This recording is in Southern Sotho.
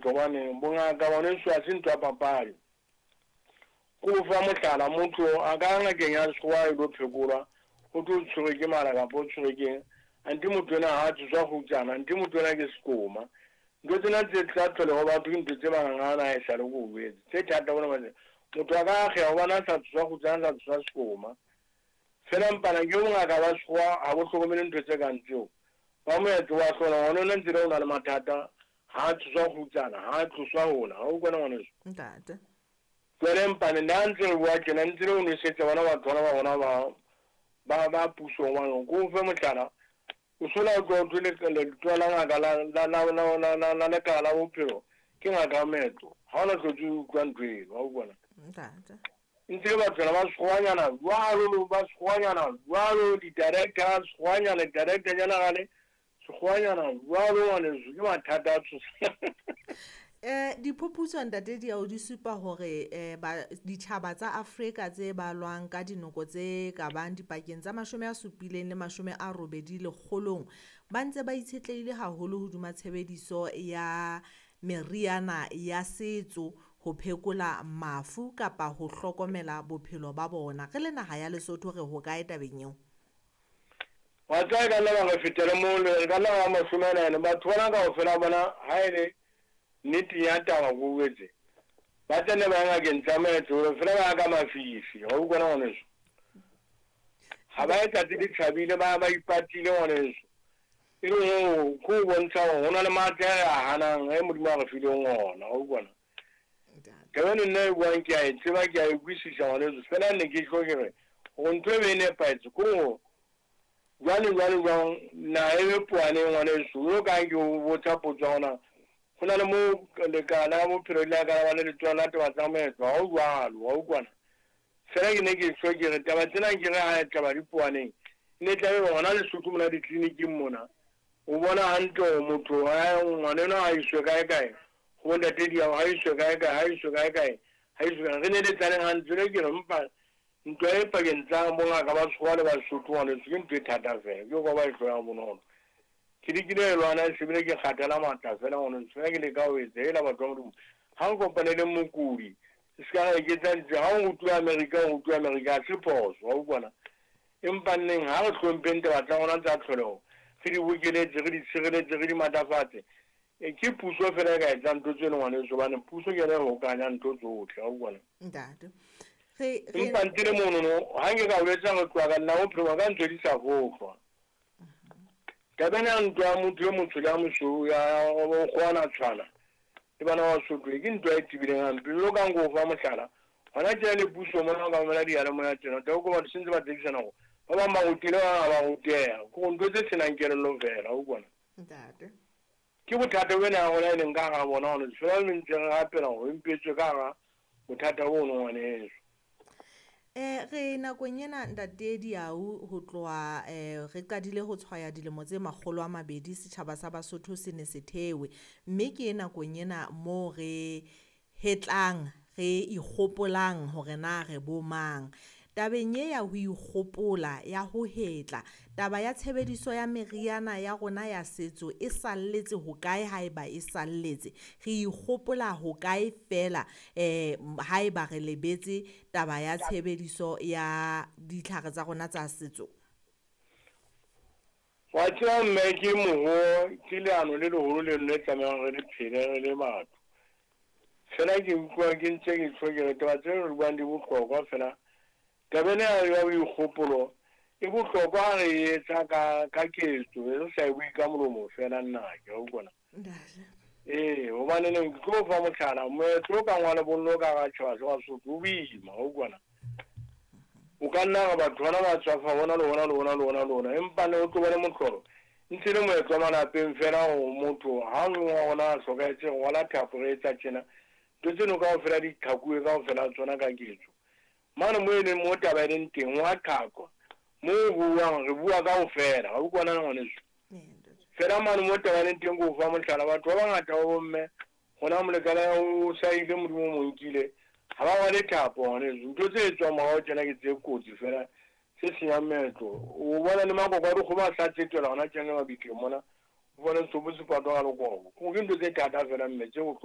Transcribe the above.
Hobane bongaka ngwaneso ha se ntho ya papadi. Ko o fa mohlala, motho a ka ya ngakeng ya sekgowa a ilo phekolwa, ho thwe o tshwerwe ke mala kapa o tshwerwe ke eng, anthe motho enwa ha a tsoswa kgutsana, anthe motho enwa ke sekoma. Ntho tsena tse tsa tlholeho batho ke ntho tse manganga a esale ko o jwetse. Tse thata bona motho a ka akgeha hobane a sa tsoswa kgutsana, a sa tsoswa sekoma. Fela mpana ke bongaka ba sekgowa ha bo hlokomele ntho tse kang tseo. Ba moetlo wa hlola ngwana ona ntse le o na le mathata, ha a tsoswa kgutsana, ha a tloswa hona. Ha o kwana ngwaneso? Ntate. Jwale mpane nna ntse re bua tjena ntse le o nwesetsa bona batho bana ba rona ba ba ba puso hobane ko o fe mohlala, o sola o tloha o thwe letona la ngaka la la la la la la la lekala la bophelo ke ngaka ya moetlo. Ha ona hlotse o utlwa ntho eno, wa utlwa na? Ntate. Ntse le batho bana ba sekgowanyana jwalo, ba sekgowanyana jwalo, di-director sekgowanyana, di-director general sekgowanyana jwalo ngwaneso, ke mathata a tshosang. Diphuputso ntate Diau di supa hore ba ditjhaba tsa Afrika tse balwang ka dinoko tse ka bang dipakeng tsa 70 le 80 lekgolong ba ntse ba itshetlehile haholo hodima tshebediso ya meriana ya setso ho phekola mafu kapa ho hlokomela bophelo ba bona. Re le naha ya Lesotho re hokae tabeng eo? Wa tseba e ka nna ba re fetele moo, re ka nna ba 44. Batho bana kaofela bona ha e le nnete ya taba ko jwetse, ba tsene ba ya ngakeng tsa moetlo fela ba ya ka mafifi. Wa utlwa na ngwaneso? Ha ba ye tsatsi le tjhabile, ba ba ipatile ngwaneso. E le hoo ke ho bontsha hore ho na le matla a re a hanang e Modimo a re fileng ona. Wa utlwa na? Taba eno nna e buang ke a e tseba, ke a e utlwisisa ngwaneso. Fela ne ke tlo ke re hore ntho e be e nepahetse ke hore jwale jwale jwang naha e be poaneng ngwaneso. Jwalo ka ha ke o botsa potso ya hore na ho na le moo lekala la bophelo le ka ba le letona la taba tsa moetlo, ha ho jwalo, wa utlwa na? Fela ke ne ke tjho ke re taba tsena ke re ha taba di poaneng, e ne tlabe hona Lesotho mona ditleliniking mona, o bona hantle hore motho ngwana enwa ha iswe kae kae, ho bontate Diau ha iswe kae kae, ha iswe kae kae, ha iswe kae. Re neletsaneng hantle jwale ke re mpa ntwa e pakeng tsa bongaka ba sekgowa le ba Sesotho ngwaneso ke ntho e thata fela, ke kwa ba e hloyang bonolo. Ke lekile ho e lwana se bile ke kgathala matla fela ngwaneso, fela ke leka ho etsa hela batho ba Modimo. Ha re kopaneleng mokudi, se ka ra iketsa ntse ha o rutuwe Amerika, o rutuwe Amerika ha se phoso, wa utlwa na? Empa nneng ha re hlompheng taba tsa rona tsa tlholeho, re di bokeletse, re di tshireletse, re di matlafatse. E, ke puso fela e ka etsang ntho tseno ngwaneso, hobane puso ke yona e hokahanyang ntho tsohle, wa utlwa na? Ntate. Re re Empa ntle le monono, ha nke ka o jwetsa re tloha ka nna bophelo ba ka ntse di sa fohlwa. Taba ena ya ntwa ya motho e motsho le ya mosweu ya ho kgowana tshwana le bana ba Basotho ke ntwa e tebileng hampe. Jwalo ka nko o fa mohlala, hona tjena le puso mona o ka mamela diyalemoya tjena, o tla utlwa batho se ntse ba tsekisana hore ba bang ba rutile, ba bang ha ba ruteha. Ke hore ntho tse senang kelello feela, wa utlwa na? Ntate. Ke bothata bena ya rona e leng ka hara bona hona fela re ntse re rapela hore e mpe e tswe ka hara bothata bono ngwaneso. Re nakong ena ntate Diau ho tloha re qadile ho tshwaya dilemo tse 200 setjhaba sa Basotho se ne se thewe, mme ke nakong ena moo re hetlang re ikgopolang hore na re bo mang. Tabeng e ya ho ikgopola ya ho hetla, taba ya tshebediso ya meriana ya rona ya setso e salletse hokae haeba e salletse? Re ikgopola hokae feela haeba re lebetse taba ya tshebediso ya ditlhare tsa rona tsa setso? Wa tseba mme ke moho ke leano le leholo leno le tlamehang re le phele re le batho. Fela ke utlwa ke ntse ke tjho ke re taba tse re buang di bohlokwa fela. Taba ena ya boikgopolo e bohlokwa ha re e etsa ka ka ketso, re sa e bue ka molomo fela nnake, wa utlwa na? Ntate. Ee, hobane neng ke tlo fa mohlala, moetlo o kang wa lebollo ka hara tjhaba sa Basotho o boima, wa utlwa na? O ka nna re batho bana ba tswafa hona le hona le hona le hona le hona, empa ne o tlo ba le mohlolo. Ntse le moetlo wa malapeng fela hore motho ha o mong wa rona a hlokahetse re rwala thapo re etsa tjena. Ntho tseno kaofela di qhakuwe kaofela tsona ka ketso. Mane moo e leng moo taba e leng teng ho a qhaqwa. Moo ho buuwang re bua kaofela, wa utlwa na ngwaneso? Fela mane moo taba e leng teng ke o fa mohlala, batho ba bangata ba bomme hona molekane o sa ile Modimo o mo nkile, ha ba rwale thapo ngwaneso. Ntho tse etswang morao tjena ke tse kotsi fela tse senyang meetlo. O bona le makoko a dikgomo a sa tsetela hona tjena le mabitleng mona, o bone setopo se patwa ka lekobo. Ke ntho tse thata fela mme tse bohloko.